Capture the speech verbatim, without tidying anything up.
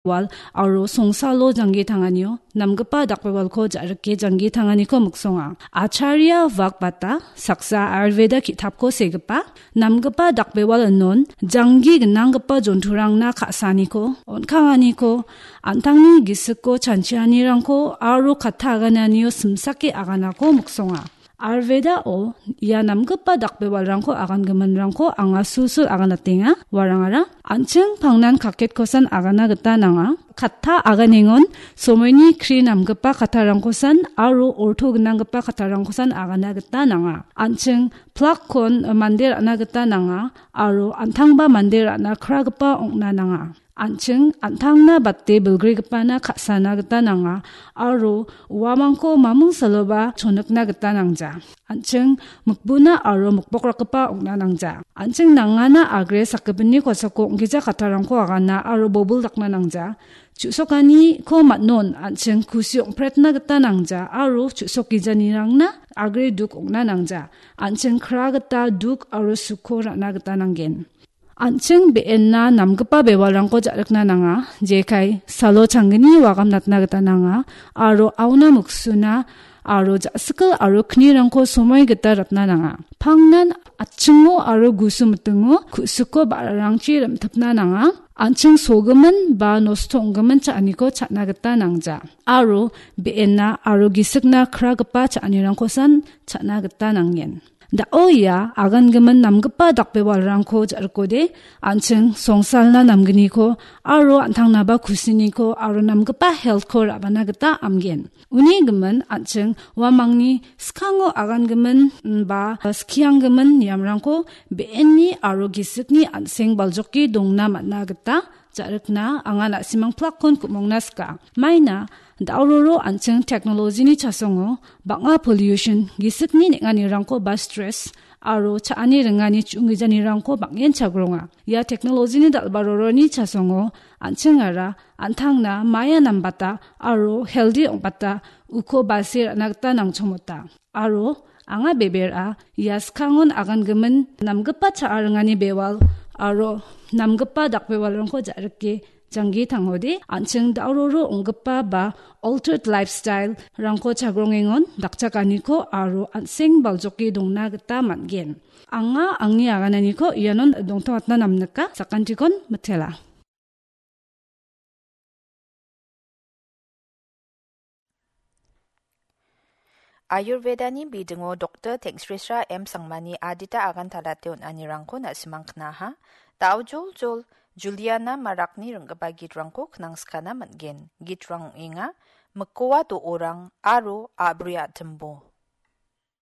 wal aro songsalo janggi tanganio namgipa dakbewalko ja·rike janggi tanganiko miksonga. Acharya Vakbata, saksa Ayurveda ki·tapko segipa, namgipa dakbewal inon janggi gnanggipa jonturangna ka·saniko, on·kanganiko, an·tangni gisiko chanchianirangko aro katta agananio simsake aganako miksonga. Ayurvedao ia namgipa dakbewalrangko agangiminrangko anga sulsul aganatenga. Uarangara an·ching pangnan kaketkosan agana gita nanga. Katta aganengon somoini kri namgipa kattarangkosan aro orto gnanggipa kattarangkosan agana gita nanga. An·ching plakkon mande ra·na gita nanga aro an·tangba mande ra·na kragipa ong·na nanga. An·ching an·tangna bate bilgrigipana ka·sana gita nanga aro uamangko mamung saloba chonikna gita nangja. An·ching mikbuna aro mikbokrakgipa ong·na nangja. An·ching nangana agre sakgipinni kosako ong·gija kattarangko agana aro bobil dakna nangja. Chu·sokaniko man·on an·ching kusi ong·pretna gita nangja aro chu·sokgijanirangna agre duk ong·na nangja. An·ching kra gita duk aro suko ra·na gita nanggen. An·ching be·enna namgipa bewalrangko ja·rikna nanga, jekai salo changgni wagamnatna gita nanga, aro auna miksuna aro ja·sikil aro knirangko somoi gita ratna nanga. Pangnan atchingo aro gusu mitingo ku·siko ba·rarangchi rim·tipna nanga. An·ching sogimin ba nosto ong·gimin cha·aniko cha·na gita nangja, aro be·enna aro gisikna kragipa cha·anirangkosan cha·na gita nanggen. Da·o ia agangimin namgipa dakbewalrangko ja·rikode, an·ching songsalna namgniko aro an·tangnaba kusiniko aro namgipa health-ko ra·bana gita amgen. Uni gimin an·ching uamangni skango agangimin, mm, ba skianggimin niamrangko be·enni aro gisikni an·seng baljoke dongna man·a gita ja·rikna anga na·simang plakkon ku·mongna sika. Maina, da·ororo an·ching teknolojini chasongo bang·a pollution, gisikni neng·anirangko ba stress, aro cha·ani ringani chu·onggijanirangko bang·en chagronga. Ia teknolojini dal·baroroni chasongo an·chingara an·tangna maia nambata aro healthy ong·bata uko base ra·na gita nangchongmota. Aro anga bebera ia skangon agangimin namgipa cha·a ringani bewal aro namgipa dakbewalrangko ja·rike janggi tangode, an·ching da·ororo ong·gipa ba altered lifestyle-rangko chagrongengon dakchakaniko aro an·seng baljoke dongna gita man·gen. Anga angni agananiko ianon dongtongatna namnika, sakantikon mitela. Ayurvedani bidingo Doktor Tengsrisra M Sangmani adita agan talate on·anirangko na·simang knaha. Dao joljol Juliana Marakni ring·gipa gitrangko knangskana man·gen. Gitrang ong·enga Mikowa do·orang aro A·bri a·timbo.